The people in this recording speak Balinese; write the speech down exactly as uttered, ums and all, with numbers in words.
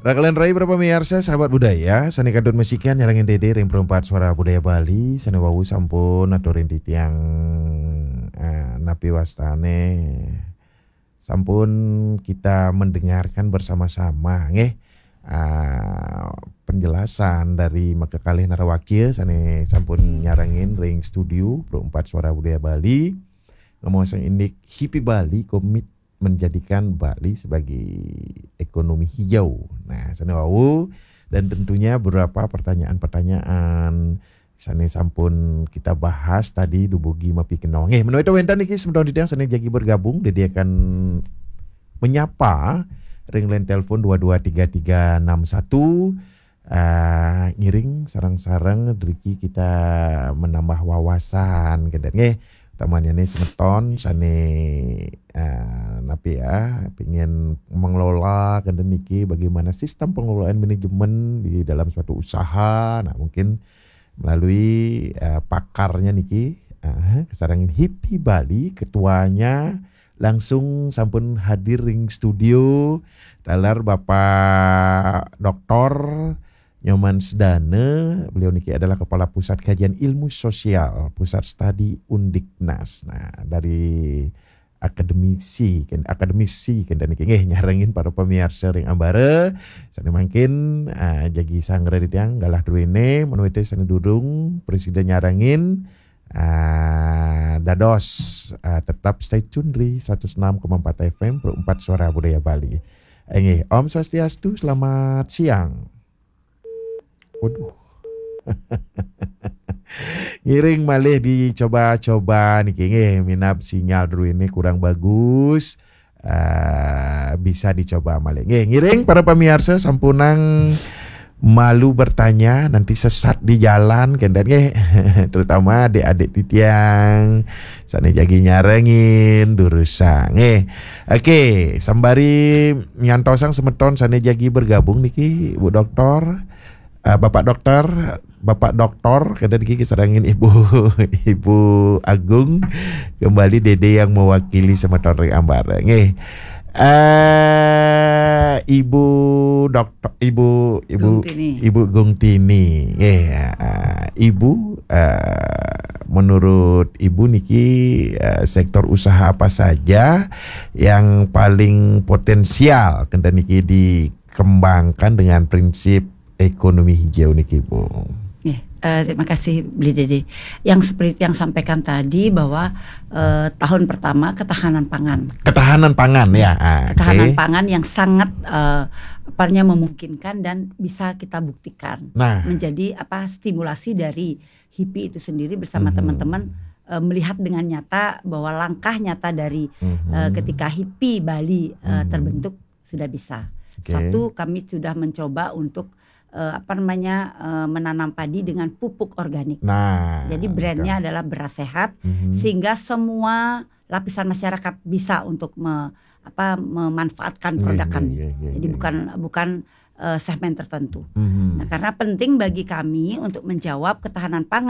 Rakalan rai para pamiarsa, sahabat budaya, sane kadut masikian nyarengin dede ring Perempat Suara Budaya Bali, sane wau sampun aturin titiang, eh, napi wastane, sampun kita mendengarkan bersama-sama, nggih. Ah, penjelasan dari makakalih narawakia sane sampun nyarengin ring studio Perempat Suara Budaya Bali. Ngomong sang indik Hipi Bali komit menjadikan Bali sebagai ekonomi hijau. Nah, sane wau dan tentunya beberapa pertanyaan-pertanyaan sane sampun kita bahas tadi dubugi mapikenong. Eh, menawi wenten niki semeton titiang sane jagi bergabung, dede akan menyapa ring line telepon dua dua tiga tiga enam satu. Ah, ngiring sareng-sareng driki kita menambah wawasan, kenten nggih. Utamanya nih semeton sane, ah, napi ya, pingin mengelola kenten niki bagaimana sistem pengelolaan manajemen di dalam suatu usaha. Nah, mungkin melalui, eh, pakarnya niki, eh, kasarengin Hipi Bali, ketuanya langsung sampun hadir ring studio, taler Bapak Doktor Nyoman Sedana. Beliau niki adalah Kepala Pusat Kajian Ilmu Sosial, Pusat Studi Undiknas. Nah, dari akademisi, ken-, akademisi kenten niki nggih nyarengin para pamiarsa ring ambara. Sane mangkin, ah, jagi sanggra titiang galah druene, menawi sane durung prasida nyarengin, ah, dados, ah, tetap stay tune di seratus enam koma empat F M, Perempat Suara Budaya Bali. Eh, nggih, Om Swastiastu, selamat siang. Waduh. Ngiring malih dicoba-coba niki nggih, minab sinyal druene kurang bagus. Eh, bisa dicoba malih. Nggih, ngiring para pamiarsa sampunang malu bertanya, nanti sesat di jalan kenten nggih. Terutama adik-adik titiang sane jagi nyarengin durusang nggih. Oke, sembari nyantosang semeton sane jagi bergabung niki, Bu Doktor, eh, Bapak Doktor, Bapak Doktor, kenten niki kasarengin Ibu, Ibu Agung, kembali dede yang mewakili semeton ring ambara nggih. Eh, Ibu Doktor, Ibu, Ibu Gung Tini. Ibu Gung Tini. Nggih, eh, Ibu, eh, menurut Ibu niki, eh, sektor usaha apa saja yang paling potensial kenten niki dikembangkan dengan prinsip ekonomi hijau niki, Bu? Nggih, eh, terima kasih, Beli Dede. Yang seperti yang sampaikan tadi bahwa, eh, tahun pertama ketahanan pangan. Ketahanan pangan, ya. Ah, ketahanan oke. Pangan yang sangat, eh, apa namanya, memungkinkan dan bisa kita buktikan. Nah. Menjadi apa, stimulasi dari Hipi itu sendiri bersama Mhm. Teman-teman, eh, melihat dengan nyata bahwa langkah nyata dari, Mhm. eh, ketika Hipi Bali, eh, Mhm. terbentuk sudah bisa. Oke. Satu, kami sudah mencoba untuk, eh, apa namanya, eh, menanam padi dengan pupuk organik. Nah, jadi brandnya oke. Adalah Beras Sehat, Mhm. Sehingga semua lapisan masyarakat bisa untuk me-, apa, memanfaatkan Nggih, produk nggih, kami. Nggih, nggih, Jadi nggih. Bukan, bukan, eh, segmen tertentu. Mhm. Nah, karena penting bagi kami untuk menjawab ketahanan pangan